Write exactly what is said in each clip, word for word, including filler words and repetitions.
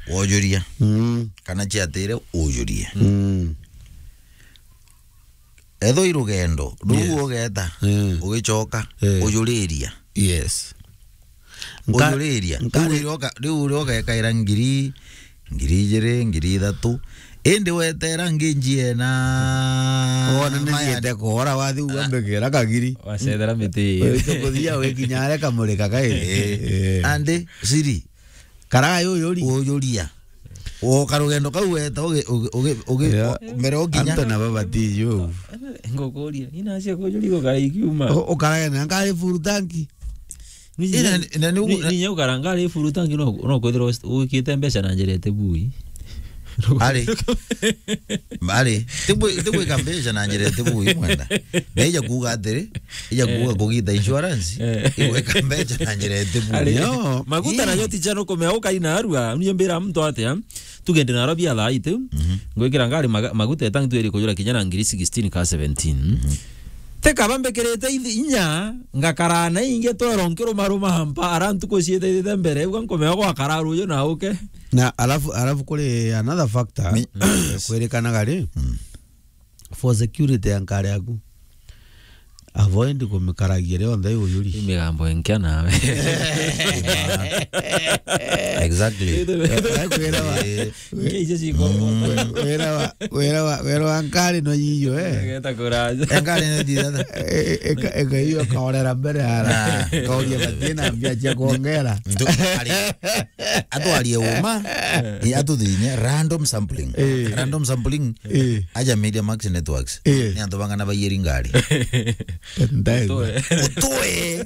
wojuria. Mm. Kana ciatire ujurie. Mm. Ethwa i rugendo, ruu Yes. ugeta, Mm. ugicoka, Eh. ujuriria. Yes. Nka-, Ujuriria. Nkari- Riu uria uga-, riu uria ugekaira ngiri, ngiri ijiri, ngiri ithatu. Indi wetera ngi njie na Wona ni maya- nigiete kuora wathi uga mbikira kagiri. Wacethera miti. Wite kuthia wikinyare kamurika kai. Eh. Eh. Andi, siri. Karaga yuyuri. Uyuria. Woka rugendo kau weta ugi-, ugi-, ugi-, ugi-, Yeah. o-, mbere ukinya. Anto na baba ti yu. Ngukuria, ina cia kujuri gukara ikiuma. U-, ukarage na ngari full tank. Ina, ina ni ugu-, ni, ni nyau kara ngari full tank no, no kwithirwa wikite mbeca na njira ite bui. Ari. Ari. Tigwi-, tigwika mbeca na njira ite bui mwenda. Na ija kuuga atiri, ija kuuga Eh. kugita insurance, Eh. igwika mbeca na njira ite bui. Ari. Yo. Maguta Ii. nayo ti chano kumea ukaina arua, ni mbira mtu atia. Tugende naro bia thaa itu. Mhm. Ngwikira ngari maga-, maguta etangi twiri kujura kinya na ngiri sixteen ka seventeen. Mhm. Tekaba mbikirite ithi-, inya, ngakara na ingi twero nkirumaruma mpa, ara ntuku ciitithite mbere, uga nkumea gwakara ruju na uke. Na alafu, alafu kuri another factor, Mi-, eh, yes. kwirikanaga ri, Mm. for security ya nkari yaku. Avoid kumikaragia rionthe iyuri. Ni migambo enkia nawe. Exactly. Eh, kwira wa, Eh, Ngeije ciko. Mm. Wira wa, wira wa, wira wa nkari no yiyo, eh. Ngeta kuraja. Enkari no thithata. Eh, eh, eka, eka iyo kaorera mbere ara. Ah. Kauria batina mbia cia kuongera. Ndu-, ari. Atwarie uma, eh, atuthinye random sampling. Eh. Random sampling. Eh. Aja Media Max Networks. Eh. Ni antu bangana baiyeri ngari. Ndai. Utoe. Utoe.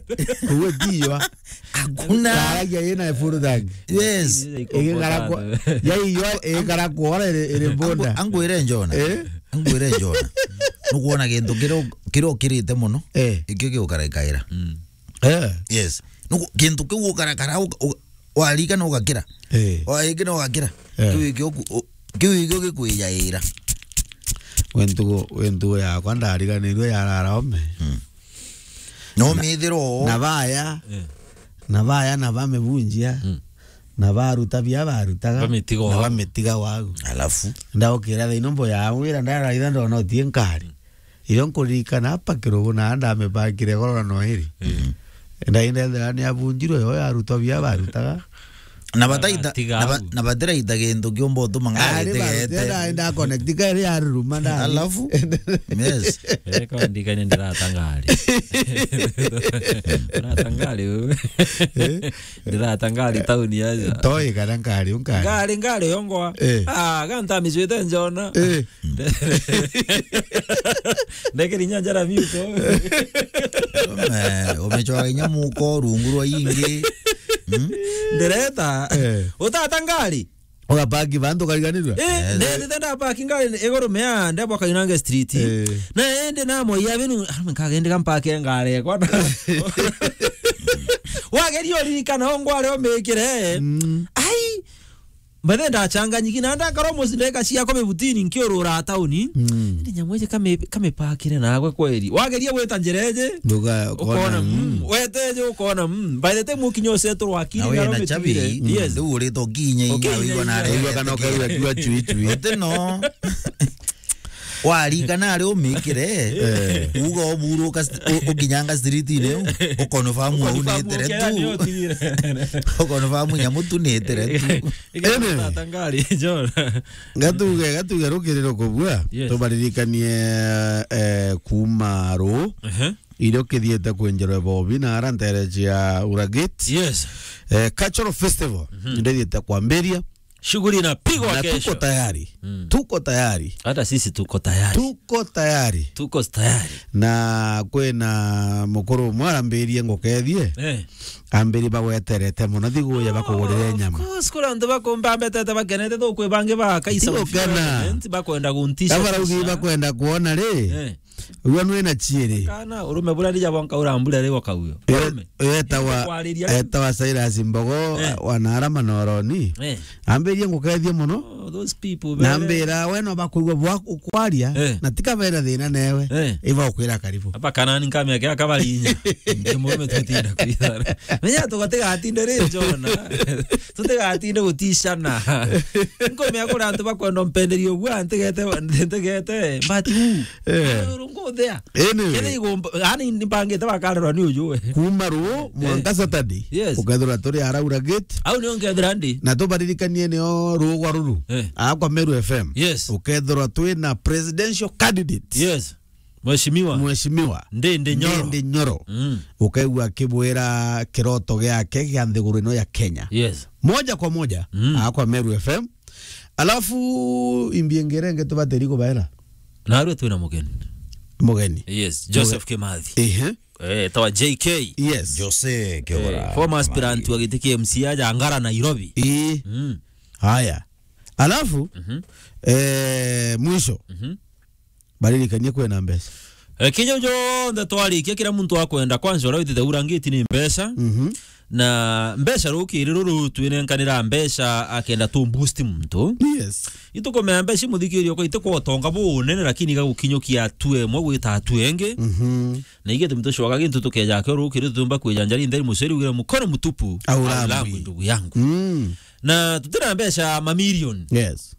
Uwe diwa. Hakuna. Karagia yena full tank. Yes. Igikara kwa, ya iyo igikara kwa ora iri, iri bonda. Angu-, angu ire njona. Eh? Angu ire njona. Nukuona gintu kiro, kiro kirite muno. Eh. Ikio giukara ikaira. Mm. Eh. Yes. Nuku-, gintu kiu ukarakara uka-, uka-, warikana ugakira. Eh. Warikana ugakira. Eh. Kiu ikio ku-, u-, kiu ikio gikwijaira. Wentugo, wentugo yakwa ndariganirwe ya rara ome. Mm. No mithiro. Na baya. Eh. Na baya na bamibunjia. Mm. Na baruta bia barutaga. Bamitiga na wau. Bamitiga wau. Alafu. Ndaukira thaino mbo ya wira ndaraitha ndona utie nkari. Irio nkuririkana apa kirugu na ndamipakire goro na noiri. Mm. Ndaindethera ni abunjirwe yo yarutwa bia barutaga. Na bataita, na ba-, na batiraita gintu kiumba utuma ngari itigete. Ari barutia nda, nda connect ka iri ya ruruma nda. Alafu? Yes. Eh, kwa ndikane ndirata ngari. Ndirata ngari wewe. Eh? Ndirata ngari tauni aja. Toi kana ngari, unkari. Ngari, ngari yongwa. Eh. Ah, ganta micwite njona. Eh. Ndekeri inya njara miuko. Ume-, umechwa inya muko rungu rwa ingi. Mm? Ndireta. Eh. Utata ngari. Ugapaki bantu ukariganirwa? Eh, yes. Ndethite ndapaki ngari iguru mea, ndebwa Kainange Street. Eh. Na ende na moya binu, ah, nkagende gampake ngari yakwa. Wageria uririkana ongware omikire. Mm. Ai, Mbathe ndachanganyiki na ndakara musi ndeka ciakwa mibutini nkiurura tauni. Mm. Ndi nyamu iji kame-, kamepakire nagwe kweri. Wageria gwita njira iji, nduga ukona, ukona, mm, mm. Wete iji ukona, mm. By the time ukinya useturwa akiri na wina chabi, yes. Riu urite ukinya inya, ukinya wigua na inya. Wigua kana ukaigua jua chui chui. Uti no. Warikana ari umikire, eh, uga uburuka st-, u-, ukinyanga street-ini u, ukonfamu au ni itire tu. Ukonfamu nyamu tu ni itire tu. Ene. Tata ngari, John. Gatuge, gatuge rukiriro kubua, yes, tubaririkanie, eh, kuma ru, ehe, irio kithiete kwinjirwe bobi na ara ntere cia Ura Gate. Yes. Eh, Cultural Festival, mhm, ndithiete kwambiria. Shughuli inapigwa na kesho. Tuko tayari. Mm. Tuko tayari. Hata sisi tuko tayari. Tuko tayari. Tuko tayari. Na kwina mukuru umwe arambirie ngukethie. Eh. Ambiri bagweterete muno, thiguye bakugurire nyama. Of course, kuri antu bakumbambetete bakenete, tukwi bangi ba Kaisa. Ti gukena. Bakwenda guntisha. Kabaraugi bakwenda kuona ri. Eh. Uyo nwe na chiere. Kana, urume buria ndija bwanka urambura ri waka uyo. Urume. Etawa, etawa Silas Mbogo, eh, wa Narama Noroni. Eh. Ambiririe ngukethie mono. Oh, those people, na mbira, we no bakwigua bwa ukwaria, eh, na tika bena thina newe. Eh. Iba ukwira karibu. Apa kana ni nkamia kia kabarinya. Ndio murume tutinda kwithana. Menya tugategatinde ri njona. Tutigatinde gutishana. Nkomea kuri antu bakwenda mpenderio gwa ntegete, ntegete. But who? Eh. Urungu there. Anyway. Kethira igomba, yani, ni mbangite bakarerwa ni uju we. Kuma ruu, eh, mwanka Saturday, yes, ukethirwa turi Araura Gate. Au nio nkethira ndi. Na tubaririkanie nio ruu gwa ruru. Eh. Akwa Meru F M. Yes. Ukethirwa twi na presidential candidate. Yes. Mheshimiwa. Mheshimiwa. Ndindi Nyoro. Ndindi Nyoro. Mm. Ukaigua akibwira kiroto giake gia nthiguru ino ya Kenya. Yes. Moja kwa moja, mm, akwa Meru F M. Alafu imbi ingi iria ingi tubatiri kubaera. Narua twina mugeni. Mugeni. Yes, Joseph Kimathi. Ehe. Eh, tawa J K. Yes. Jose Kiora. Eh, former aspirant wa giti kia M C A aja Ngara, Nairobi. Ii. Mm. Haya. Alafu, mhm, eh, mwisho. Mhm. Baririkanie kwina mbeca. Eh, kinya jonthe twarikia, kira muntu akwenda, kwanza uria witite urangiti ni mbeca. Mhm. Na mbeca rukiri ruru twinenkanira mbeca akenda tu boost muntu. Yes. Itukumea mbeca imuthikiria uko ite kwa utonga bunene, lakini igagukinyukia hatua imwe gwita hatua ingi. Mhm. Na igitumi tucoka gintu tukeja akio rukiri tutumba kwijanjari ntheri muceri ugire mukono mutupu. Aurambwi. Aurambwi ndugu yangu. Mm. Na tutira mbeca mamilioni. Yes.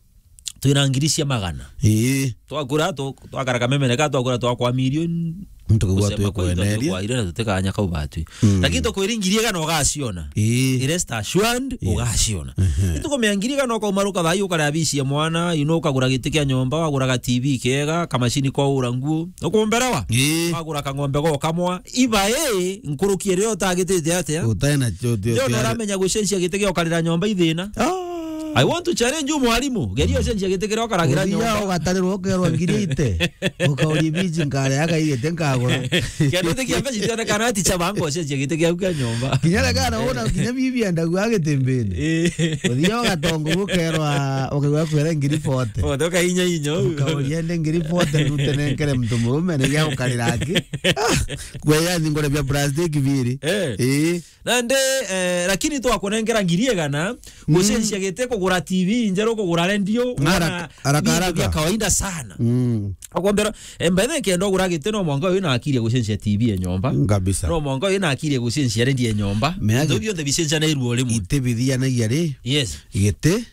Twina ngiri cia magana. Ii. Twakura, tu-, twakara kamemene ka, twakura twakwa milioni. Ntukigwa kusema kweli, twikweneria. Twakwa ire na tutikanya kau batwi. Mm. Lakini tukwiri ngiri igana ugaciona. Ii. Rest assured, yes, ugaciona. Mhm. Itukumea ngiri igana ukaumaruka thaa ii ukare abisi ya mwana, you know, ukagura giti kia nyomba, wagura ga T V kega, kamashini kwa ura nguo, ukumberawa. Ii. Wagura kang'ombe go kamwa, iba ii, nkuruki iria utagitite atia? Utae na chote. Ndio uramenya gucenjia giti gia ukarira nyomba ithina. Ah. I want to challenge you, mwarimu. Geria ucenjie giti kiria ukaragira nyomba. Uthia ugatarirwa ukerwa ngiri ite. Ukauria biji nkare akaigite nkagura. Kende giti kia mbeca itionekana ati cha bango ucenjie giti kiaku kia nyomba. Kinya rega na wona kinya bibi endagu agitimbini. Eh. Uthia ugatongo ukerwa, ukaigua kwera ngiri forty. Forty ukainya inyo. Ukauria nde ngiri forty ndute nenkere mtu murume ni ya ukarira aki. Ah, kwe yani ngore bia plastic biri. Eh. Eh. Nandi, eh, lakini twakunengera ngiri igana, mm, gucenjia giti, kugura T V njeru, kugura redio, haraka, haraka, haraka. Bia kawaida sana. Mm. Akwambira, eh, by the way, kenda ugura giti, no mwanka wina akiri ya gucenjia T V ya nyomba. Kabisa. No mwanka wina akiri ya gucenjia redio ya nyomba. Mea. Into bionthe bicenjanirue o rimwe. Iti bithianagia ri? Yes. Giti,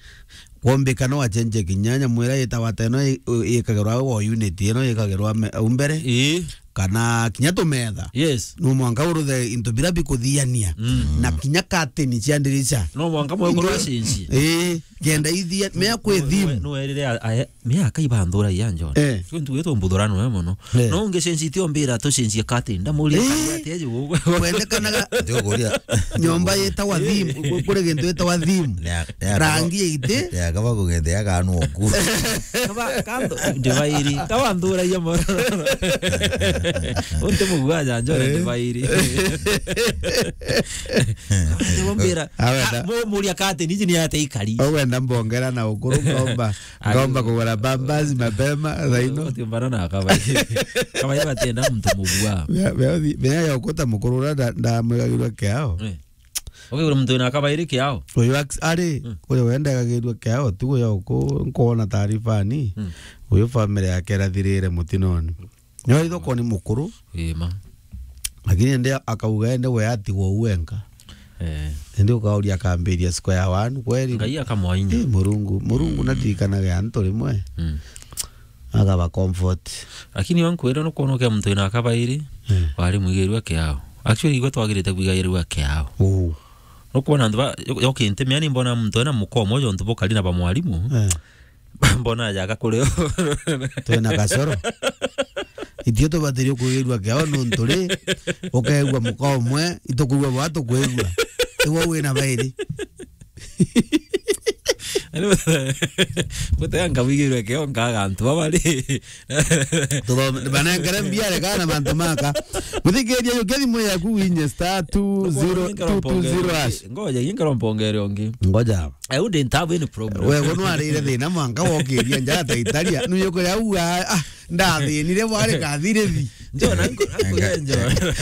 kwombika no achenje kinya nyamu iria itawa ta ino i-, u-, ikagirwa o unit ino ikagirwa me-, au mbere. Ii. Kana kinya tumetha. Yes. No mwanka uruthe into bira bikuthiania. Mm. Na kinya kateni cia ndirica. No mwanka mwekorwa cinci. Ii, kenda ithia, mea kwi thimu. No, no, no, erire a-, a-, miaka ibanthura ya John. Eh. Kwi ntu gitwo mbuthurano we mono. Eh. No ungicenjia itio mbira tucenjie kateni. Ndamuria, eh, kari atia ju? Kwendekanaga. Ndikuria. Nyomba yetawa thimu, ku-, kuri gintu yetawa thimu. Ya, ya, rangi ya ite. Ya, kaba kugethea kanu oku. Kaba, kando, ndivairi. Kaba nthuragia mono. Unti mugua janjo, eh, ndivairi. Kaba ndivombira. Awenda. Ah, mu-, muria kateni iji ni ate ikari. Ogwenda mbongera na ukuru ngomba. Ngomba kugura Pampers mapema, thaa ino. Uti mbana na kabai. Kabai batienda muntu mugua. Mea, mea, mea ya ukuta mukuru uria nda-, ndamwigagirwa kiao. Eh. Ukigura muntu wina kabairi kiao? Uyu ax-, ari, mm, uyu wendagagirwa kiao, tu uyu uku-, nkuona taarifa ni. Mm. Uyu family yake irathirire mutinoni. Nio ithoko ni mukuru. Ii ma. Lakini ende akauga ende we atigwo u wenka. Eh. Ende ukauria akambiria square one kweli. Ngai akamwainya. Eh, Murungu, Murungu, mm, natirikanaga antu rimwe. Mm. Agaba comfort. Lakini wankwira nukwona kia muntu wina kabairi, eh, wari mwigirwa kiao. Actually, igwe twagirite kwigairwa kiao. Uu. Nukwona antu ba, yo-, yokinte mea ni mbona muntu ena mukomo jo ntu bukari na ba mwarimu. Eh. Mbona ajaga kuri o. Twina gacoro. Itio tubatirie kwigirua kiao nuntu ri, ukeigua muka umwe, itukwigua bwa tukwigua. Iwe wina bairi. Gutega nkabigirwe kio nkaga antu baba ri. Tuthome, banengere mbia rega na mantu maka. Muthikiria, yukia thimu yaku winye star two zero two two zero hash. Ngoja, ingero mpongere ungi. Ngoja. I wouldn't have any problem. We, we nwarire thina mwanka wokiria nja ta Italia. Nuyo kuria uga, ah, ndathinire bwari kathirithi. Njo, na nko-, nko-, njo.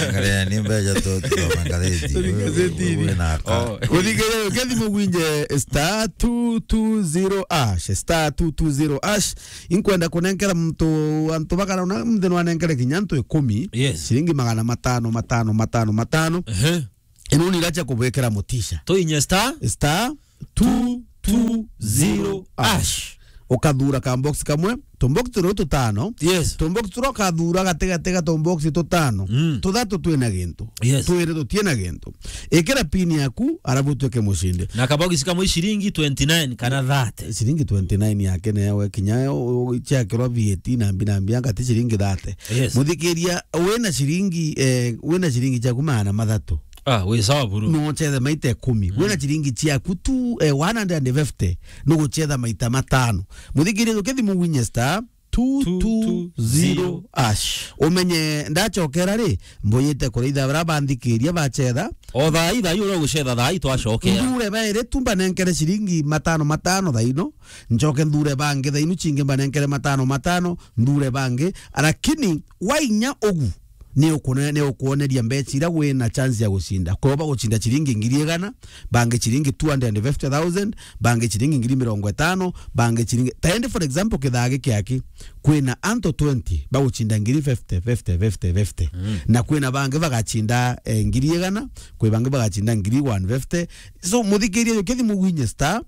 Angalia ni mbeca tu, tu, angalia. Turi gazeti. Wewe, wewe na aka. Oh. Uthikiria, yukia thimu winye star two two zero hash, star two two zero hash. Inkwenda kunenkera muntu, antu bakana una, muthe nwanenkere kinya antu ikumi. Yes. Ciringi magana matano, matano, matano, matano. Ehe. Ino ni iracha kubwekera mutisha. Tuinye star? Star two two zero hash. Ukathura ka box kamwe, tu box turi tutano. Yes. Tu box turi ukathura gati gati ga tu box tutano. Mm. Tuthatu twina gintu. Yes. Twiri tutina gintu. Ikira pin yaku, arabu tuike mushindi. Na ka box kamwe ciringi twenty-nine kana thirty. Ciringi twenty-nine yake newe kinya yo, yo, ciakirwa V A T na mbi na mbi, anga ti ciringi thirty. Yes. Muthikiria, wina ciringi, eh, wina ciringi ciaku magana mathatu. Ah, wi sawa buru. No uchethe maita ikumi. Mm. Wina ciringi ciaku tu, eh, one hundred and fifty, no guchetha maita matano. Muthikiria, ukithi muwinye star two two zero hash. Umenye ndachokera ri, mbuyite kuraitha bara banthikiria bachetha. O thaa ii, thaa ii uria uguchetha, thaa ii twacokera. Ndure bairi tu mbanenkere ciringi matano matano thaa ino, njoke ndure bangi thaa inu cingi mbanenkere matano matano, ndure bangi, lakini wainya ugu, ni ukune-, ni ukuoneria mbeca iria wina chance ya gucinda. Kwou bagucinda ciringi ngiri igana, bangi ciringi two hundred and fifty thousand, bangi ciringi ngiri mirongo itano, bangi ciringi, ta indi, for example, kithaa giki aki, kwina antu twenty bagucinda ngiri fifty, fifty, fifty, fifty. Mm. Na kwina bangi bagacinda, eh, ngiri igana, kwi bangi bagacinda ngiri one fifty. So, muthikiria, ukithi mugwinye star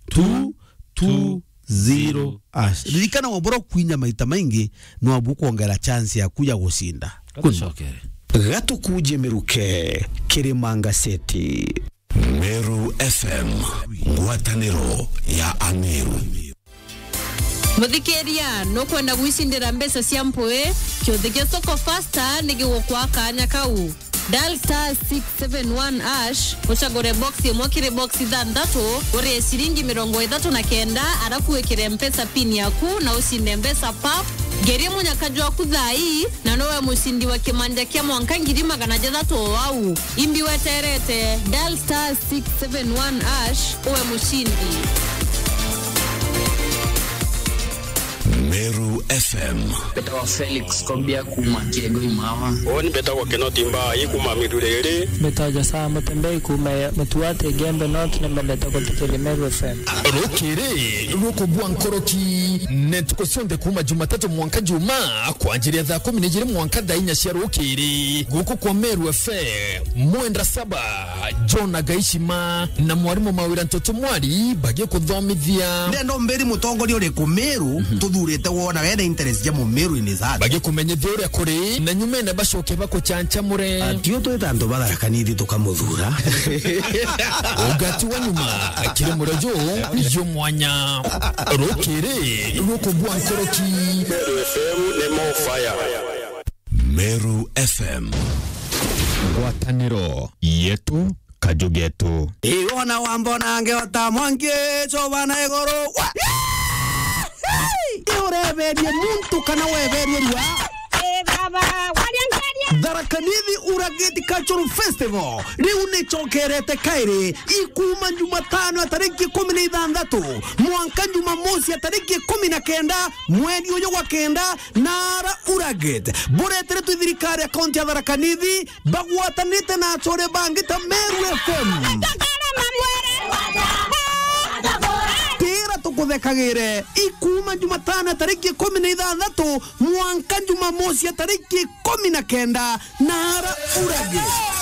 two two zero hash. Ririkana, wabura kwinya maita maingi, no abu kwongera chance yaku ya gucinda. Gatucokere. Gatukuje miruke, Kirima Ngaseti. Meru F M, ngwataniro ya Ameru. Muthikiria, nukwenda gwicindira mbeca cia mpui? Kiuthi kia Soko Fasta ni gigukwa kanya kau. Dial star six seven one hash, ucagure box imwe kiri box ithanthatu, urie ciringi mirongo ithatu na kenda, arafu wikire Mpesa pin yaku na ucinde mbeca pap. Ngerie munyaka jwaku thaa ii, na nowe mucindi wa kimanja kia mwanka ngiri magana jathatu o au. Imbi weterete, dial star six seven one hash, uwe mucindi. Meru F M. Mbetagwa Felix Kobia kuuma Kiego Imawa. Uuni mbetagwa Kinoti Mbai kuuma Miruriri. Mbetagwa Josaa Mutembei kuuma Mutuate Igembe North, ni mbendete guthikiria Meru F M. Rukiri rukubua nkoroki, ni ntuku cionthe kuuma Jumatatu mwanka Jumaa, kwanjiria thaa kumi na ijiri mwanka thaa inya cia rukiri, guku kwa Meru F M. Mwenda Saba, John Agaishima, na mwarimu Mawira Ntoto Mwari bagikuthomithia. Ndenda umbiri mutongoria uriku Meru, mhm, tuthurite wona wena interest ja Mumeru ni that. Bagikumenyithia uria kuri, na nyumene bacoke bakuchanchamure. Atio twita antu ba Tharaka Nithi tukamuthura. Ugati wa nyuma, kiri murejo, yo mwanya. Rukiri rukubua nkoroki. Meru F M ni more fire. Meru F M. Ngwataniro yetu, kaju getu. Iwona wambona ngeota mwanki, chobana iguru. Wa-, iureberie muntu kana weberie rua? Eh, baba, waria ngeria. Tharaka Nithi Urageti Cultural Festival riu nichokerete kairi, ikuma Jumatano ya tariki ikumi na ithanthatu mwanka Jumamosi ya tariki ikumi na kenda mweri uyu wa kenda, Nara Uragate, bureteretwe i thirikari ya kaunti ya Tharaka Nithi, bagwatanite na achore bangi ta Meru F M. Tira tukuthekagire, ikuma Jumatano tariki ikumi na ithanthatu mwanka Jumamosi ya tariki ikumi na kenda, Nara Uragate.